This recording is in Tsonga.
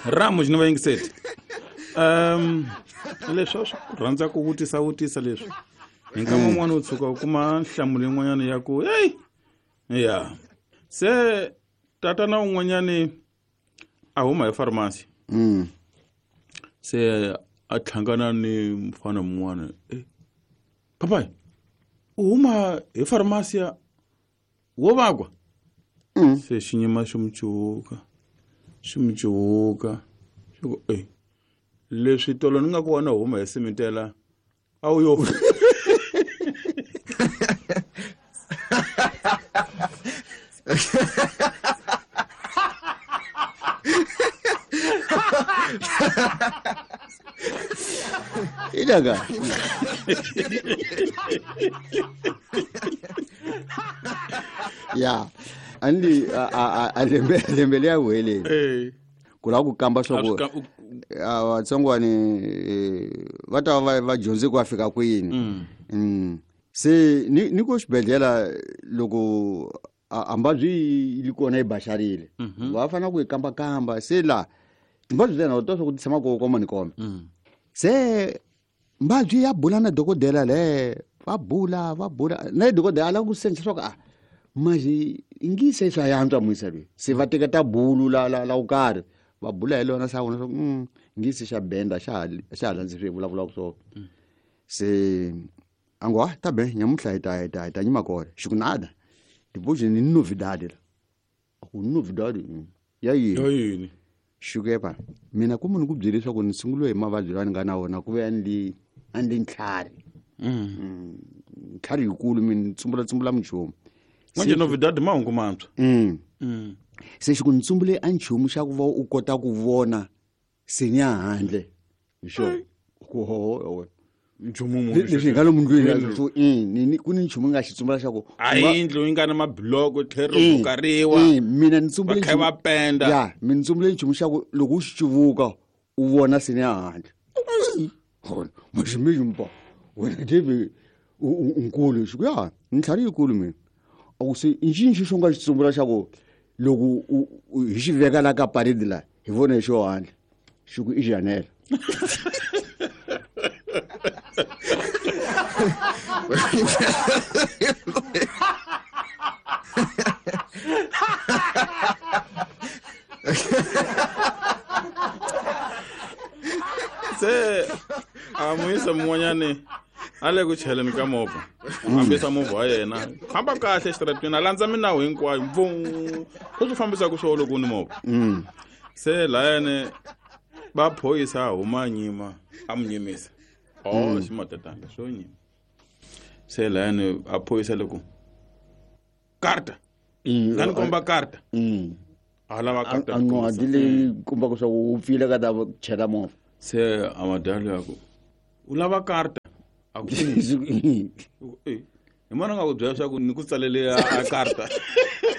Ramu xi ni va yingiseti. Leswi a swi ku rhandza ku vutisa vutisa leswi. Hi nkama wun'wana u tshuka u kuma nhlamulo yin'wanyana ya ku hey ya se tatana un'wanyani a huma hi pharmacy. Se a tlhangana ni mfana mun'wana. Papai, u huma hi pharmacy wo vakwa? Se xinyima xi mu cuvuka, xi mu cuvuka. Xi ku, leswi tolo ni nga ku vona huma hi simitela a wu yo. Ilaka. Ya, andi a lembe lembe liya wele. Ku lava ku kamba swa ku vatsongwani va ta va dyondze ku va fika kwini. Se ni ko xibedhlele loko a mbabyi yi kona yi baxarile. Va fanele ku yi kamba kamba se la timbabyi ta hina to swa ku ti tshama ko koma ni koma. Se mbabyi ya bula na dokodela le va bula na dokodela a lava ku sensa swa ku a manje ngi se swa yantswa muyisa loyi se va teka ta bulu la la la karhi va bula hi lona sa vona swa ku ngi se xa benda xa ha landzi swi vulavulaka swona. Se a ngo ta be nyamuhla hi ta nyima kona xi ku nada depois ni novidade la a ku novidade ya yini ya yini xi ku epa mina ku munhu ku byele leswaku ni sunguliwe hi mavabyi lawa ni nga na wona ku ve a ni li ntlhari. Ntlhari yikulu mina tsumbula minchumu. Manje novidade mahungu mantshwa. Se xi ku ni tsumbule a nchumu xa ku va u kota ku vona senya handle. Hi xona. Ku ho nchumu munhu leswi nga lomu ndlwini so ni ku ni nchumu nga xi tsumbula xa ku a yindlu yi nga na mabiloko tlhelo ro bukariwa. Mina ni tsumbule va kha va penda. Ya mina ni tsumbule nchumu xa ku loko u xi cuvuka u vona senya handle. Hona mashimimba wena David unkulu xi ku ya ntlhari yikulu mina a ku se nxinxi xo nga xi tsumbula xa ku loko hi xi veka la ka parade la hi vona hi xo handle xi ku i janela. Se a muyisa mun'wanyani a le ku cheleni ka movha fambisa movha wa yena famba kahle exitarateni a landza minawu hinkwayo mvu swi fambisaka swo loko u ni movha. Se layani va phorisa huma nyima a mu nyimisa. Ximatatanga swo nyima. Se layani a phorisa loko karta nga ni komba karta. A lava karta. A ncwadi leyi kombaka swa ku u pfile ka ta chela movha. Se a madalo ya ku u lava karta a ku hi mona nga ku byela swa ku ni ku tsalele a karta.